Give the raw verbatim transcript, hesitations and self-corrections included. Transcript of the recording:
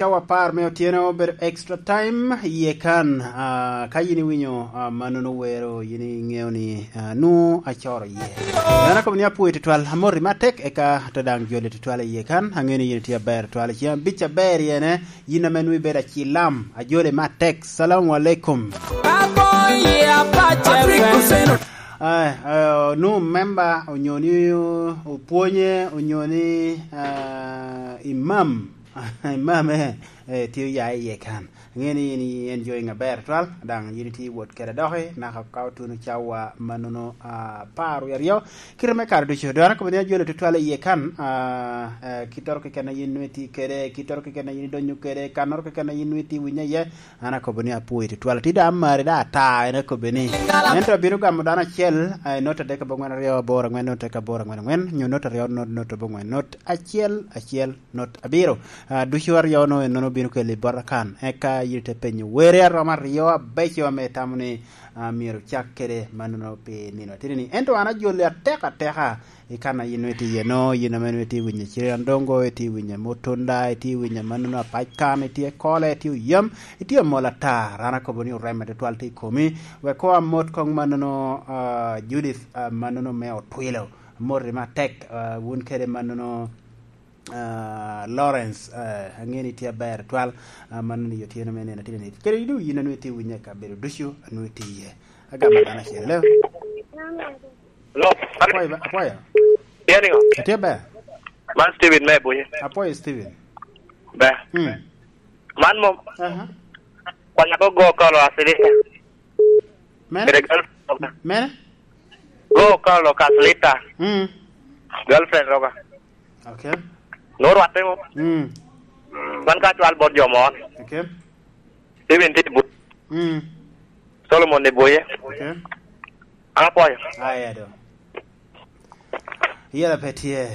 Cawa apar me otyeno obedo extra time iye kan. Ah, ka yin iwinyo, ah, mannono wero, yin iŋeo ni, ah, nwoŋo acoro iye. An akobo ni apwoyi tutwal, amoti matek, eka te daŋ joli tutwal iye kan. Aŋeo ni yin itye aber tutwal. Cen abic aber yene, yin ame nwoŋo ibedo acilam, ajoli matek. Salamu alaikum. Ah, ah, nwoŋo memba onyo ni opwonye, onyo ni, ah, imam. Imam, eh, eh, tye oya iye kan. Aŋeo ni in, in enjoying aber twal, daŋ yin itye wot kede doki, naka ka otuno cawa mannono, ah, apar wie aryo. Kite me kare ducu, dwara kobo ni ajolo tutwal iye kan, ah, eh, kittoro keken a yin nwoŋo itye kede, kittoro keken a yin idonyo kede, kannoro keken a yin nwoŋo itye winyo iye, an akobo ni apwoyi tutwal. Tye daŋ amari daŋ ata, en akobo ni. Ento abino gamo dano acel, ah, i not adek aboŋwen aryo aboro aŋwen, not adek aboro aŋwen aŋwen, nyo not aryo not, not aboŋwen, not acel acel, not abiro. Ah, ducu aryo-nu ennono bino keli bota kan. Eka yin ite penyo were aromo aryo abeco ame itamo ni, ah, myero ocak kede mannono pi nino atidi-ni. Ento an ajoli atek ateka i kan a yin nwoŋo itye iye-no, yin ame nwoŋo itye winyo Ciryandongo, itye winyo Mutunda, itye winyo mannono apac kan, itye Kole, itye Oyam, itye Amol Atar. An akobo ni oreme tutwal tye i komi. Wek koŋ amot koŋ mannono, ah, Judith, ah, mannono me Otwilo. Amoti matek, ah, wun kede mannono, ah, Lawrence, ah, aŋeo ni tye aber twal, ah, man ni otyeno me nino atye nit. Kede idu yin a nwoŋo itye winyo i kabedo ducu a nwoŋo itye iye. Agamo dano acel. Hello? Hello? Apwoyo ba-, apwoyo. Tye niŋo? Atye ber. Man Steven me Bunyi. Apwoyo Steven. Ber. Mm. Man mom. Aha. Kwanya ko go kolo asilita. Mene? Kede girlfriend roga. Mene? Go kolo asilita. Mm. Girlfriend roga. Okay. No rwatte mo. Mm. Man ka cwal bot jo mon. Okay. Steven tye bu. Mm. Solomon ni buye. Okay. An apwoyo. Aya do. Yela pe tye.